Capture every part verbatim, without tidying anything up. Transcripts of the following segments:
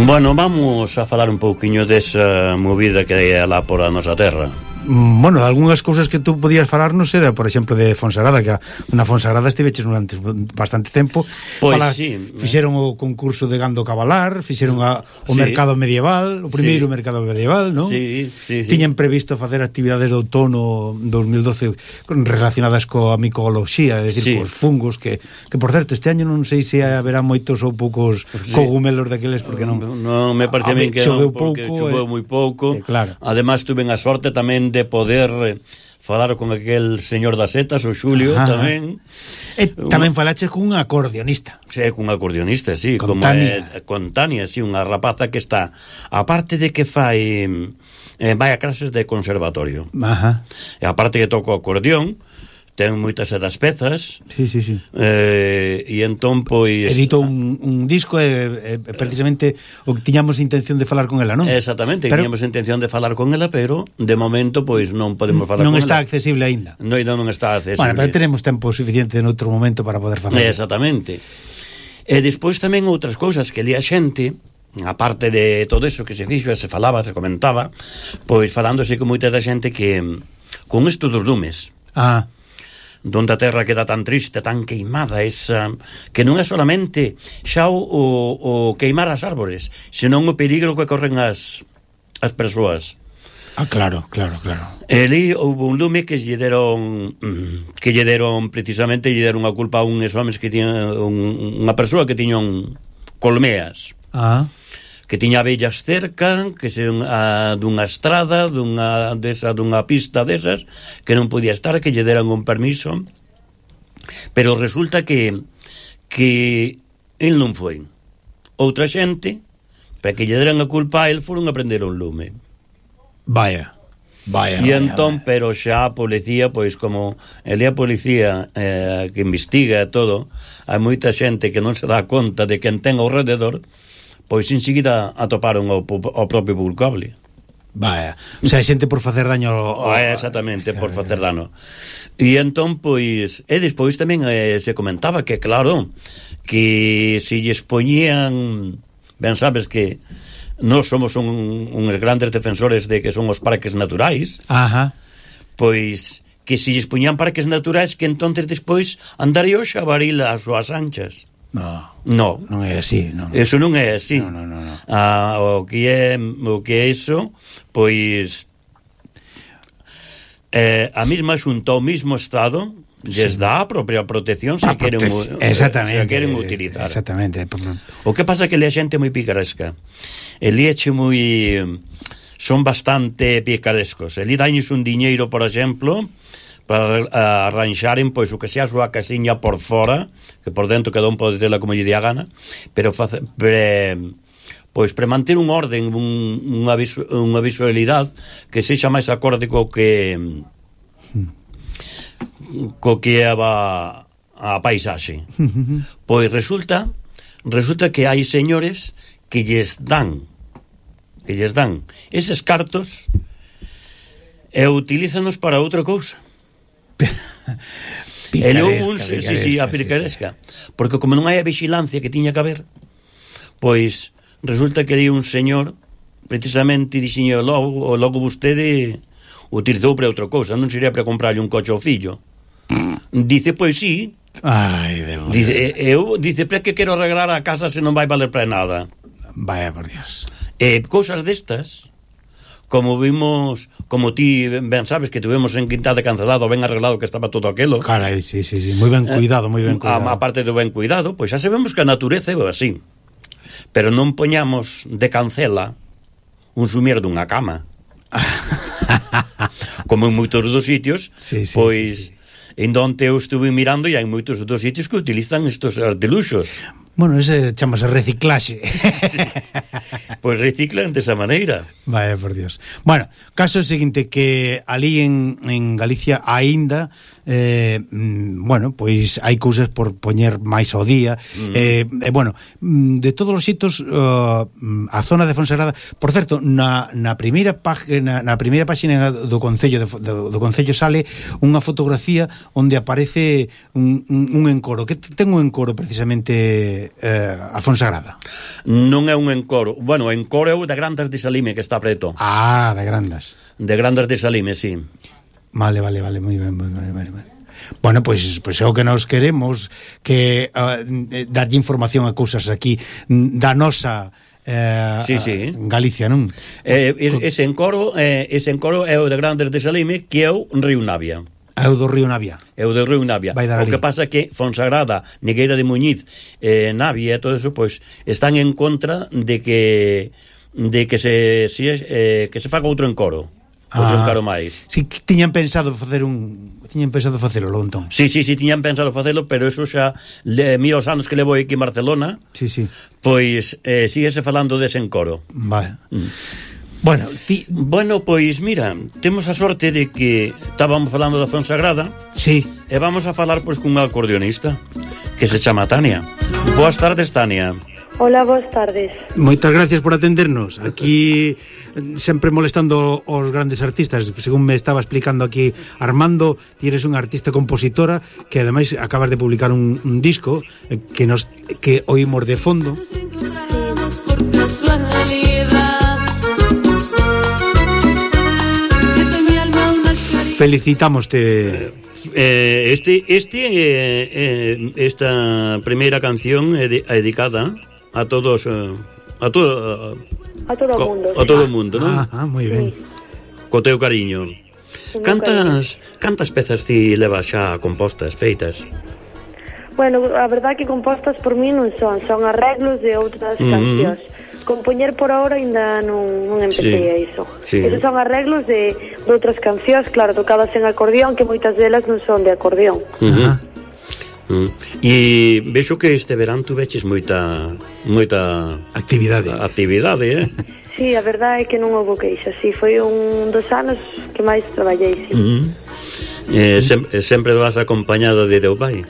Bueno, vamos a falar un pouquiño desa movida que hai alá por a nosa terra. Bueno, algunhas cousas que tú podías falarnos era, por exemplo, de Fonsagrada, que na Fonsagrada estiveches durante bastante tempo. Pois Fala, sí. Fixeron o concurso de gando cabalar, fixeron a, o sí. mercado medieval, o primeiro sí. mercado medieval, non? Sí, sí, sí. Tiñen previsto facer actividades de outono dos mil doce relacionadas coa micoloxía, é dicir, sí. cos fungos, que, que por certo, este año non sei se haberá moitos ou poucos sí. cogumelos daqueles, porque non... Non, me parece a mí que non, porque pouco, choveu moi pouco. Eh, claro. Ademais, tuven a sorte tamén de poder falar con aquel señor das setas, o Xulio. Ajá. Tamén. E tamén falaches cun acordeonista. Sí, cun acordeonista, sí, con como Tania. É, con Tania, sí, unha rapaza que está, aparte de que fai eh, vai a clases de conservatorio. Ajá. E aparte que toco acordeón, ten moitas das pezas. Sí, sí, sí. Eh, e entón, pois... Edito un, un disco e, e precisamente o que tiñamos intención de falar con ela, non? Exactamente, pero... tiñamos intención de falar con ela, pero de momento, pois, non podemos falar non con ela. Non está accesible aínda. Non, non está accesible. Bueno, pero tenemos tempo suficiente en outro momento para poder facer. Exactamente. E despois tamén outras cousas que li a xente, aparte de todo eso que se fixo, se falaba, se comentaba, pois falándose con moita da xente que con isto dos lumes. Ah, donde a terra queda tan triste, tan queimada, esa, que non é solamente xa o, o, o queimar as árbores, senón o peligro que corren as, as persoas. Ah, claro, claro, claro. Eli houve un lume que lle deron que lle deron precisamente lle deron a culpa a uns homes que tiñan un, unha persoa que tiñan colmeas. Ah. Que tiña abellas cerca, que se a, dunha estrada, dunha desa dunha pista desas, que non podía estar, que lle deran un permiso. Pero resulta que que el non foi. Outra xente, para que lle deran a culpa a el, foron a prender un lume. Vaya. Vaya. E vaya, entón, vaya. pero xa a policía, pois como ele a policía eh, que investiga todo, hai moita xente que non se dá conta de quen ten ao rededor, pois enseguida atoparon o, o propio culpable. Vaya, o sea, xente por facer daño ao... Oh, exactamente, por facer daño. E entón, pois, e despois tamén eh, se comentaba que, claro, que se lles poñían, ben sabes que nós somos un, uns grandes defensores de que son os parques naturais. Ajá. Pois que se lles poñían parques naturais, que entonces despois andaría o xabaril ás súas anchas. No, no, non é así, non. Eso non é así. No, no, no, no. Ah, o que é o que é iso, pois eh, a mesma xunta ao mesmo estado lles dá a propia protección se queren, exactamente, se queren utilizar. Exactamente. O que pasa que le a xente moi picaresca. Eli eche moi son bastante picarescos. Eli dañes un diñeiro, por exemplo, para arranxaren pois o que sea a súa casiña por fora, que por dentro cada un pode tela como lle día gana, pero face, pre, pois pre manter un orden, un, unha, visu, unha visualidade que sexa máis acorde co que co que é a, a paisaxe. Pois resulta resulta que hai señores que lles dan que lles dan eses cartos e utilízanos para outra cousa. Picaresca, un, picaresca, sí, sí, a picaresca, sí, sí. Porque como non hai a vigilancia que tiña que haber, pois resulta que hai un señor precisamente dixiño logo, logo vostede utilizou para outra cousa, non sería para comprarlle un coche ao fillo. Dice, pois sí. Ai, Deus. Dice, eu, dice, para que quero arreglar a casa se non vai valer para nada. Vaya, por Dios. E cousas destas, como vimos, como ti ben sabes que tuvemos en Quintada Cancelado ben arreglado que estaba todo aquilo. Carai, sí, sí, sí, moi ben cuidado, moi ben cuidado. A, a parte do ben cuidado, pois xa sabemos que a natureza é así. Pero non poñamos de cancela un sumier dunha cama. Como en moitos dos sitios, sí, sí, pois sí, sí. En donde eu estuve mirando e hai moitos dos sitios que utilizan estos artiluxos. Bueno, ese chamase reciclaxe. Sí. Pois reciclan desa maneira. Vaya, por Dios. Bueno, caso é o seguinte, que ali en, en Galicia aínda eh, mm, bueno, pois hai cousas por poñer máis ao día, mm. eh, eh, bueno, de todos os xitos uh, a zona de Fonsagrada, por certo, na, na primeira página, na primeira páxina do Concello de, do, do Concello sale unha fotografía onde aparece un, un, un encoro, que ten un encoro precisamente eh, a Fonsagrada. Non é un encoro, bueno, o encoro é o de Grandas de Salime que está preto. Ah, de Grandas. De Grandas de Salime, sí. Vale, vale, vale, moi ben, moi ben, moi ben. Bueno, pois, pois é o que nos queremos, que uh, darlle información a cousas aquí da nosa eh, sí, sí. Galicia, non? Eh, ese encoro eh, ese encoro é o de Grandes de Salime, que é o Río Navia. É o do Río Navia. É o do Río Navia. O que pasa é que Fonsagrada, Nigueira de Muñiz, eh, Navia e todo eso, pois, están en contra de que de que se, si, eh, que se faga outro encoro. Outro ah, encoro máis. Si tiñan pensado facer un tiñan pensado facelo, entón. Sí, sí, sí, tiñan pensado facelo, pero eso xa le, mira os anos que levo aquí en Barcelona. Sí, sí. Pois eh, síguese falando dese encoro. Vale. Mm. Bueno, ti... bueno, pois mira, temos a sorte de que estábamos falando da Fonsagrada. Sí. E vamos a falar pois cun acordeonista que se chama Tania. Boas tardes, Tania. Hola, boas tardes. Moitas gracias por atendernos. Aquí sempre molestando os grandes artistas. Según me estaba explicando aquí Armando, ti eres unha artista compositora que ademais acabas de publicar un, un disco que nos que oímos de fondo. Felicitámoste. Eh, este este eh, eh, esta primeira canción é, de, é dedicada a todos eh, a todo a, a todo o mundo. A todo o mundo, non? Ah, ah, moi ben. Sí. Co teu cariño. Cantas cantas pezas ti levas xa compostas, feitas? Bueno, a verdade que compostas por mí non son, son arreglos de outras mm-hmm. cancións. Compoñer por ahora ainda non, non empecé sí. a iso. Sí. Esos son arreglos de, de outras cancións, claro, tocadas en acordeón, que moitas delas non son de acordeón. Uh-huh. Uh-huh. E vexo que este verán tu veches moita moita actividade. Actividade, eh? Sí, a verdade é que non houve queixa, sí, foi un dos anos que máis traballei, sí. Uh-huh. Eh, sem, sempre vas acompañada de teu pai?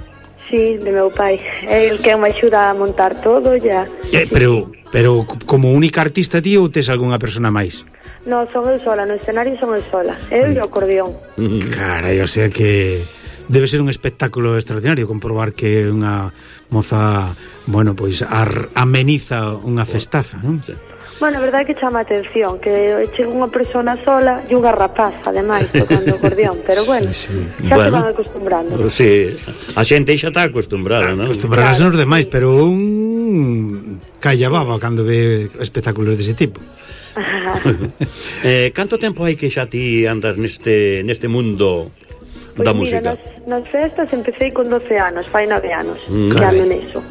Sí, de meu pai. É el que me axuda a montar todo, ya. Eh, pero, pero como única artista ti ou tes algunha persona máis? No, son eu sola, no escenario son eu sola. Eu e o acordeón. Carai, o sea que debe ser un espectáculo extraordinario comprobar que unha moza, bueno, pois ar, ameniza unha festaza, non? Sí. Bueno, a verdade é que chama a atención que chega unha persona sola e unha rapaza, ademais, tocando acordeón, pero bueno, sí, sí. xa bueno, se van acostumbrando. Sí, a xente xa está acostumbrada, non? Acostumbrarás claro. Nos demais, pero un calla baba cando ve espectáculos dese tipo. eh, canto tempo hai que xa ti andas neste neste mundo pues da mira, música? Nas, nas festas empecé con doce anos, fai nove anos, mm. que ando neso.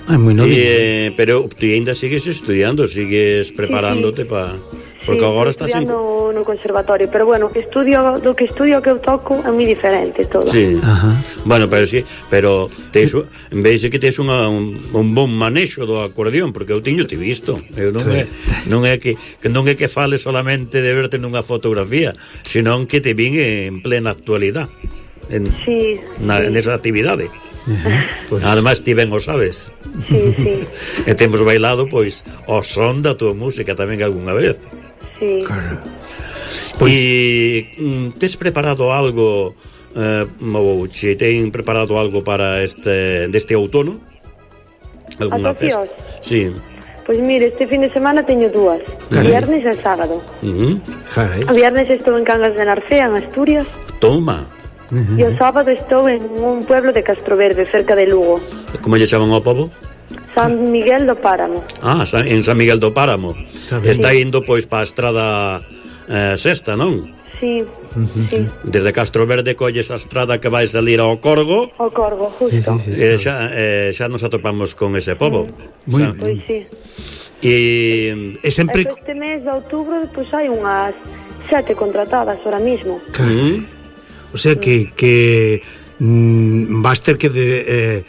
É moi novinho. Eh, pero ti ainda sigues estudiando, sigues preparándote sí, sí. para... Porque sí, agora estás en... no conservatorio, pero bueno, que estudio, do que estudio que eu toco é moi diferente todo. Sí. Ajá. Bueno, pero sí, pero tes, en vez de que tes unha, un, un bon manexo do acordeón, porque eu tiño te visto. Eu non é, non é que, que non é que fale solamente de verte nunha fotografía, senón que te vin en plena actualidade. En, sí, na, sí. nesa actividade. Uh-huh. Pues... Además ti ben o sabes. Sí, sí. E temos bailado pois o son da tua música tamén algunha vez. Sí. Claro. Pois e mm, tes preparado algo eh, ou che ten preparado algo para este deste outono? Alguna festa? Sí. Pois mire, este fin de semana teño dúas. Carai. Viernes e sábado. Uh-huh. O viernes estou en Cangas de Narcea, en Asturias. Toma. Uh-huh. E o sábado estou en un pueblo de Castroverde, cerca de Lugo. Como lle chaman ao pobo? San Miguel do Páramo. Ah, en San Miguel do Páramo. Está sí. indo pois para a estrada eh, sexta, non? Sí, uh-huh. sí. Desde Castroverde colles a estrada que vai salir ao Corgo. Ao Corgo, justo. Sí, sí, sí, eh, xa, eh, xa nos atopamos con ese pobo. Moi mm. Pois sí. E, e sempre... Este mes de outubro, pois hai unhas sete contratadas ahora mismo. O sea que, que mm, vas ter que de, eh,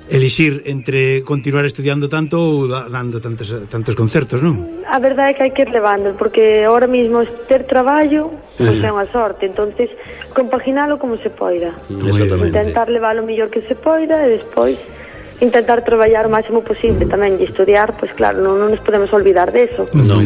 elixir entre continuar estudiando tanto ou dando tantos, tantos concertos, non? A verdade é que hai que ir levando, porque ahora mismo ter traballo pois é unha sorte, entonces compaginalo como se poida. Exactamente. Intentar levar o mellor que se poida e despois intentar traballar o máximo posible tamén, e estudiar, pois claro, non, non nos podemos olvidar deso. Non.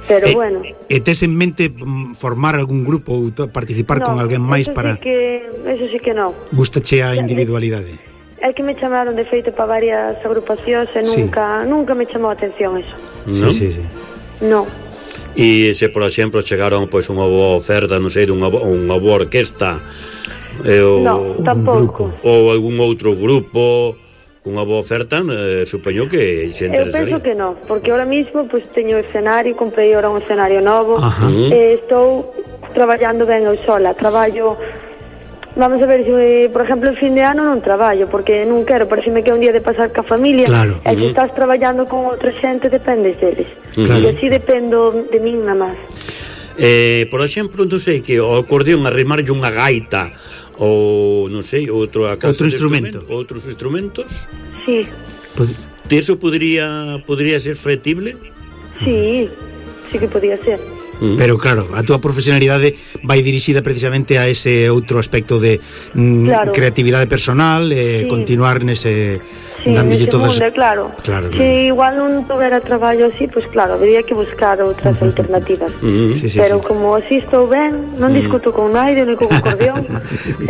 Pero e, bueno. E tes en mente formar algún grupo ou participar no, con alguén máis eso para... Sí que, eso sí que non. Gústache a individualidade? É que me chamaron de feito para varias agrupacións e nunca, sí. nunca me chamou a atención eso. ¿No? Sí, sí, sí. No. E se, por exemplo, chegaron pois unha boa oferta, non sei, dunha unha boa orquesta eh, ou, no, tampouco. Ou algún outro grupo cunha boa oferta, eh, supoño que se interesaría. Eu penso que non, porque ahora mismo pues, teño escenario, comprei ahora un escenario novo, eh, e estou traballando ben eu sola, traballo... Vamos a ver, se, por exemplo, el fin de ano non traballo, porque non quero, pareceme que é un día de pasar ca familia, claro. E se estás traballando con outra xente, dependes deles. Claro. E así dependo de min nada máis. Eh, por exemplo, non sei, que o acordeón arrimarlle unha gaita ou, non sei, outro, outro instrumento. instrumento, outros instrumentos. Sí. Pod... Eso podría, podría ser factible? Sí, sí que podía ser. Pero claro, a túa profesionalidade vai dirixida precisamente a ese outro aspecto de mm, claro. creatividade personal e eh, sí. continuar nese sí, nese todas... mundo, claro. Claro, claro. Se igual non tuvera traballo así, pois pues claro, habría que buscar outras uh-huh. alternativas. Uh-huh. Sí, sí, Pero sí. como así estou ben, non uh-huh. discuto con naide, nem con acordeón.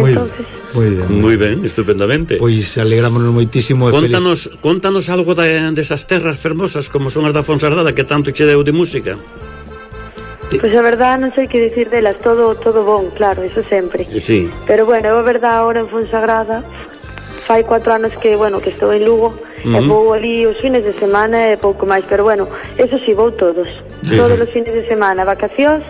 Entonces, moi ben. Moi ben, estupendamente. Pois alegrámonos moitísimo. Contanos, feliz... contanos algo de, desas terras fermosas como son as da Fonsardada, que tanto che deu de música. Pois a verdad non sei que dicir delas, todo todo bon, claro, eso sempre. Sí. Pero bueno, a verdad ahora en Fonsagrada fai cuatro anos que, bueno, que estou en Lugo, uh-huh. e vou ali os fines de semana e pouco máis, pero bueno, eso si sí, vou todos. Sí. Todos os fines de semana, vacacións,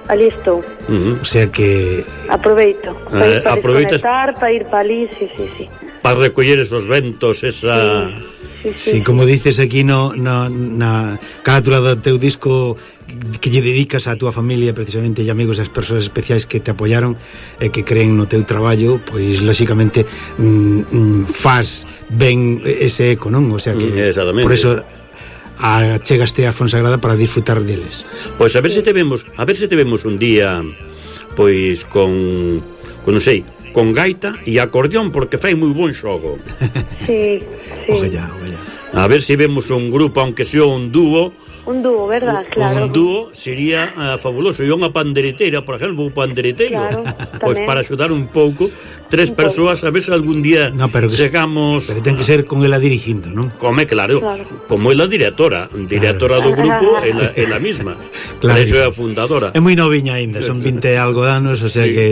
ali estou. Uh-huh. O sea que aproveito, para ir para Aproveitas... desconectar, para ir para ali, sí, sí, sí. Para recoller esos ventos, esa... Sí. Sí, sí, sí, sí, como dices aquí no, no, na carátula do teu disco que lle dedicas a túa familia precisamente e amigos, as persoas especiais que te apoyaron e que creen no teu traballo, pois lóxicamente mm, mm, faz ben ese eco, non? O sea que mm, por eso a, chegaste a Fonsagrada para disfrutar deles. Pois a ver se te vemos, a ver se te vemos un día pois con con non sei, con gaita e acordeón, porque fai moi bon xogo. Sí, sí. Ojalá, ojalá. A ver se vemos un grupo, aunque sea un dúo. Un dúo, verdad, un, claro. Un dúo sería uh, fabuloso. E unha pandereteira, por exemplo, un pandereteiro. Claro, pois para axudar un pouco tres un persoas, a ver se algún día no, pero chegamos... Pero ten que ser con ela dirigindo, non? Come, claro, claro. Como ela directora, directora claro. do grupo, ela, ela mesma. Claro, eso é a fundadora. É moi noviña aínda, son vinte algo de anos, o sea sí. que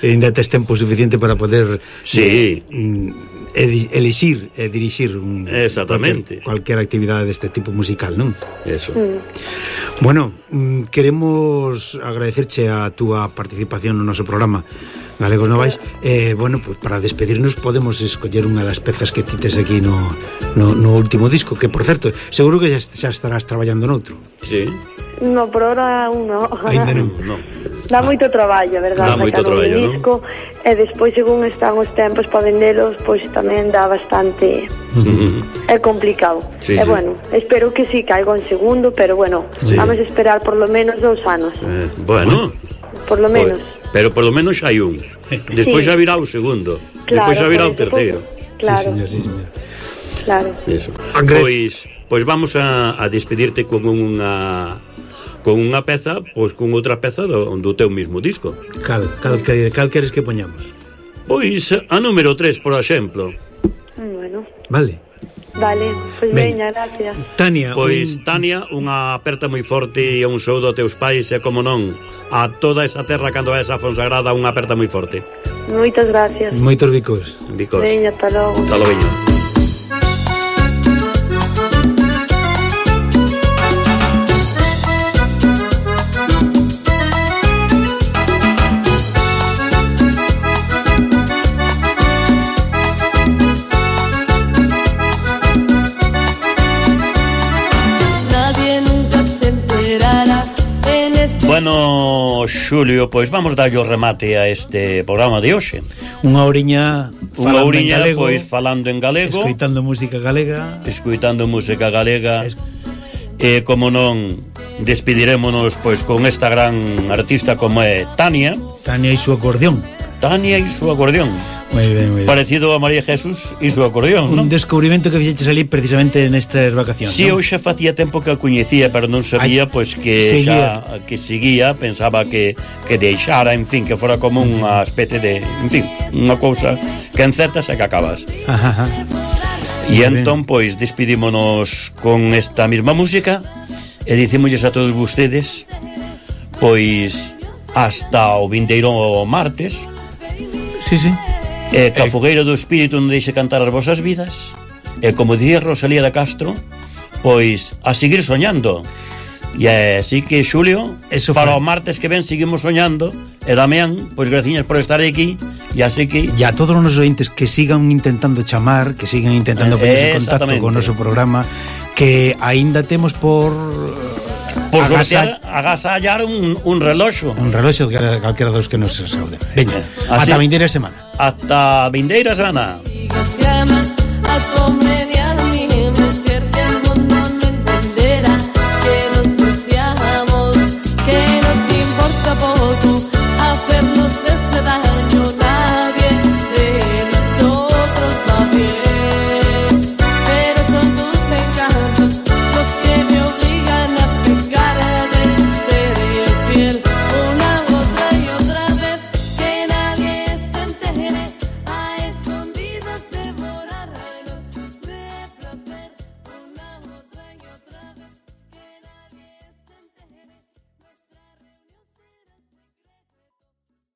ainda tes tempo suficiente para poder sí. eh, elixir e dirixir un, exactamente cualquier, cualquier actividade deste tipo musical, non? Eso. Mm. Bueno, queremos agradecerche a túa participación no noso programa Galegos Novais. Eh, bueno, pues para despedirnos podemos escoller unha das pezas que tites aquí no, no, no último disco, que por certo, seguro que xa, xa estarás traballando noutro. Sí. No, por ahora uno. Ainda non. No. Dá moito traballo, verdad? Dá moito traballo, non? Disco, e despois, según están os tempos para vendelos, pois tamén dá bastante... Uh-huh. É complicado. Sí, e sí. bueno, espero que sí caiga en segundo, pero bueno, sí. vamos a esperar por lo menos dous anos. Eh, bueno. Por lo menos. Pues, pero por lo menos hai un. Despois xa sí. virá o segundo. Claro, despois xa virá o terceiro. Claro. Sí, señor, sí, señor. Claro. Eso. Pois, pois vamos a, a despedirte con unha con unha peza, pois con outra peza do, do teu mismo disco. Cal, cal, cal, cal queres que poñamos? Pois a número tres, por exemplo. Bueno. Vale. Vale, pois pues veña, gracias. Tania, pois un... Tania, unha aperta moi forte e un saúdo a teus pais e como non a toda esa terra cando vais a Fonsagrada, unha aperta moi forte. Moitas gracias. Moitos bicos. Bicos. Veña, ata logo. Ata logo. Bueno, bueno, Xulio, pois vamos darlle o remate a este programa de hoxe. Unha oriña Unha oriña, pois, falando en galego, escoitando música galega, escoitando música galega, es... e, como non, despidirémonos, pois, con esta gran artista como é Tania. Tania e su acordeón. Tania e su acordeón. Muy bien, muy bien. Parecido a María Jesús e su acordeón, un non? descubrimento que fixeches ali precisamente nestas vacacións. Si, sí, ¿no? eu xa facía tempo que a coñecía, pero non sabía, Ay, pois, que seguía. xa que seguía, pensaba que, que deixara, en fin, que fora como unha especie de, en fin, unha cousa que encetas e que acabas. Ajá, ajá. E entón, pois, despidímonos con esta mesma música e dicimosles a todos vostedes, pois, hasta o vindeiro martes. Sí, sí. E que a fogueira do espírito non deixe cantar as vosas vidas. E como dicía Rosalía de Castro, pois a seguir soñando. E así que, Xulio, eso para fue. O martes que ven seguimos soñando. E Damián, pois graciñas por estar aquí. E así que... E a todos os nosos ointes que sigan intentando chamar, que sigan intentando ponerse en contacto con o noso programa, que aínda temos por... Por sortear, agasallar un, un reloxo. Un reloxo de calquera dos que nos saúde. Veña, ata a vindeira semana. Ata a vindeira semana.